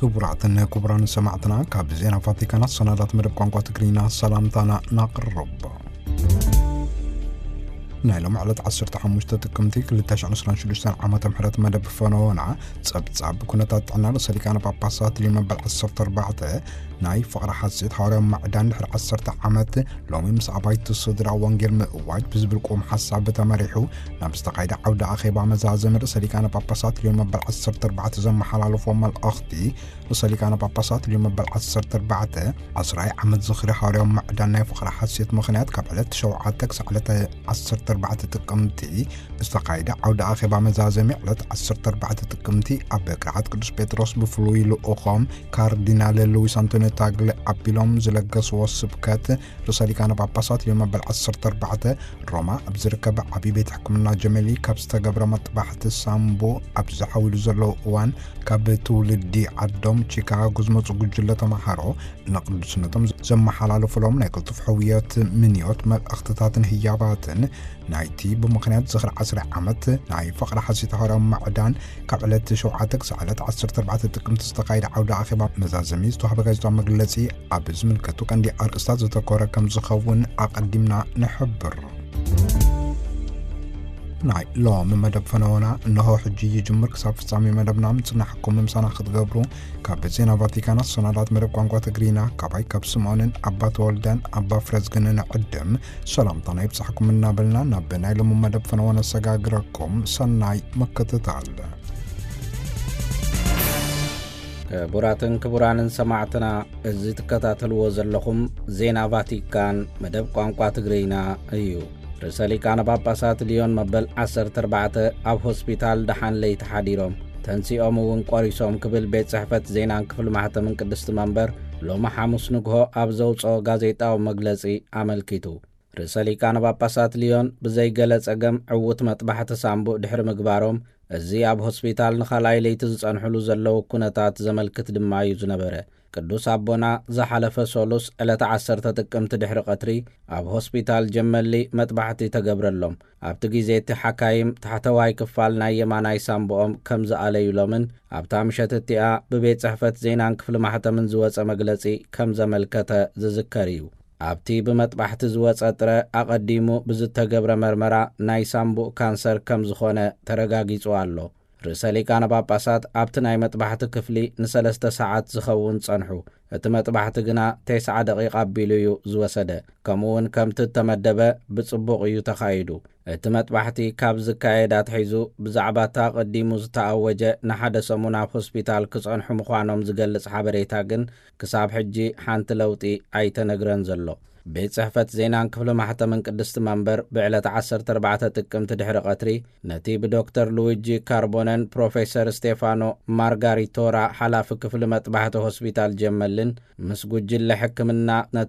ክቡራትን ክቡራን ሰማዕትና፣ ካብ ዜና ቫቲካን ኣሰናዳት መደብ ቋንቋ ትግርኛ ሰላምታና ናቕርብ። ናይ ሎም ዕለት ዓሰርተ ሓሙሽተ ጥቅምቲ ክልተ ሽሕን ዕስራን ሽዱሽተን ዓመተ ምሕረት መደብ ፈነወና ጸብጻብ ኩነታት ጥዕና ርእሰ ሊቃነ ጳጳሳት ሊዮ መበል ዓሰርተ ኣርባዕተ ናይ ፍቕሪ ሓሴት ሃዋርያዊ ማዕዳን ድሕሪ ዓሰርተ ዓመት ሎሚ ምስ ኣባይቲ ስድራ ወንጌል ምእዋጅ ብዝብል ቁም ሓሳብ ተመሪሑ ናብ ዝተኻየደ ዓውደ ኣኼባ መዛዘሚ ርእሰ ሊቃነ ጳጳሳት ሊዮ መበል ዓሰርተ ኣርባዕተ ዘመሓላለፎ መልእኽቲ፣ ርእሰ ሊቃነ ጳጳሳት ሊዮ መበል ዓሰርተ ኣርባዕተ ዓስራይ ዓመት ዝኽሪ ሃዋርያዊ ማዕዳን ናይ ፍቕሪ ሓሴት ምኽንያት ካብ ዕለት ሸውዓተ ክሳዕ ዕለት ዓሰርተ ኣርባዕተ ጥቅምቲ ዝተኻየደ ዓውደ ኣኼባ መዛዘሚ ዕለት ዓሰርተ ኣርባዕተ ጥቅምቲ ኣብ ቅርዓት ቅዱስ ጴጥሮስ ብፍሉይ ልኡኾም ካርዲናል ሉዊስ ኣንቶኒዮ ታግሊ ኣቢሎም ዝለገስዎ ስብከት ርእሰ ሊቃነ ጳጳሳት ሊዮ መበል ዓሰርተ ኣርባዕተ ሮማ ኣብ ዝርከብ ዓብዪ ቤት ሕክምና ጀመሊ ካብ ዝተገብረ መጥባሕቲ ሳምቡ ኣብ ዝሓዊሉ ዘለዉ እዋን ካብ ትውልዲ ዓዶም ቺካጎ ዝመፁ ጉጅለ ተምሃሮ ንቅዱስነቶም ዘመሓላለፉሎም ናይ ቅልጡፍ ሕውየት ምንዮት መልእኽትታትን ህያባትን ናይቲ ብምኽንያት ዝኽሪ ዓስራይ ዓመት ናይ ፍቕሪ ሓሴት ሃዋርያዊ ማዕዳን ካብ ዕለት ሸውዓተ ክሳዕ ዕለት ዓሰርተ ኣርባዕተ ጥቅምቲ ዝተኻየደ ዓውደ ኣኼባ መዛዘሚ ዝተዋህበ ጋዜጣዊ መግለጺ ኣብ ዝምልከቱ ቀንዲ ኣርእስታት ዘተኮረ ከም ዝኸውን ኣቐዲምና ንሕብር። ናይ ሎሚ መደብ ፈነወና እንሆ ሕጂ ይጅምር። ክሳብ ፍጻሜ መደብና ምጽናሕኩም ምሳና ክትገብሩ ካብ ዜና ቫቲካን ኣሰናዳት መደብ ቋንቋ ትግርኛ ካባይ ካብ ስምዖንን ኣባ ተወልደን ኣባ ፍረዝግንን ዕድም ሰላምታና ይብጻሕኩም እናበልና ናብ ናይ ሎሚ መደብ ፈነወ ነሰጋግረኩም። ሰናይ ምክትታል። ክቡራትን ክቡራንን ሰማዕትና፣ እዚ ትከታተልዎ ዘለኹም ዜና ቫቲካን መደብ ቋንቋ ትግርኛ እዩ። ርእሰ ሊቃነ ጳጳሳት ሊዮን መበል ዓሰርተ ኣርባዕተ ኣብ ሆስፒታል ደሓን ለይቲ ሓዲሮም፣ ተንሲኦም እውን ቆሪሶም ክብል ቤት ጽሕፈት ዜናን ክፍሊ ማሕተምን ቅድስቲ መንበር ሎሚ ሓሙስ ንግሆ ኣብ ዘውጽኦ ጋዜጣዊ መግለጺ ኣመልኪቱ። ርእሰ ሊቃነ ጳጳሳት ሊዮን ብዘይገለ ጸገም ዕዉት መጥባሕቲ ሳምቡእ ድሕሪ ምግባሮም፣ እዚ ኣብ ሆስፒታል ንኻልኣይ ለይቲ ዝጸንሕሉ ዘለዉ ኩነታት ዘመልክት ድማ እዩ ዝነበረ። ቅዱስ ኣቦና ዝሓለፈ ሶሉስ ዕለተ ዓሰርተ ጥቅምቲ ድሕሪ ቀትሪ ኣብ ሆስፒታል ጀመሊ መጥባሕቲ ተገብረሎም። ኣብቲ ግዜ እቲ ሓካይም ታሕተዋይ ክፋል ናይ የማናይ ሳምቡኦም ከም ዝኣለዩሎምን ኣብታ ምሸት እቲኣ ብቤት ጽሕፈት ዜናን ክፍሊ ማሕተምን ዝወጸ መግለጺ ከም ዘመልከተ ዝዝከር እዩ። ኣብቲ ብመጥባሕቲ ዝወጸ ጥረ ኣቐዲሙ ብዝተገብረ መርመራ ናይ ሳምቡእ ካንሰር ከም ዝኾነ ተረጋጊጹ ኣሎ። ርእሰ ሊቃነ ጳጳሳት ኣብቲ ናይ መጥባሕቲ ክፍሊ ንሰለስተ ሰዓት ዝኸውን ጸንሑ። እቲ መጥባሕቲ ግና ተስዓ ደቂቕ ኣቢሉ እዩ ዝወሰደ። ከምኡ እውን ከምቲ እተመደበ ብጽቡቕ እዩ ተኻይዱ። እቲ መጥባሕቲ ካብ ዝካየድ ኣትሒዙ ብዛዕባ እታ ኣቐዲሙ ዝተኣወጀ ንሓደ ሰሙን ኣብ ሆስፒታል ክጸንሑ ምዃኖም ዝገልጽ ሓበሬታ ግን ክሳብ ሕጂ ሓንቲ ለውጢ ኣይተነግረን ዘሎ። ቤት ጽሕፈት ዜናን ክፍሊ ማሕተምን ቅድስቲ መንበር ብዕለት ዓሰርተ ኣርባዕተ ጥቅምቲ ድሕሪ ቀትሪ ነቲ ብዶክተር ሉዊጂ ካርቦነን ፕሮፌሰር ስቴፋኖ ማርጋሪቶራ ሓላፊ ክፍሊ መጥባሕቲ ሆስፒታል ጀመልን ምስ ጉጅለ ሕክምና ነቲ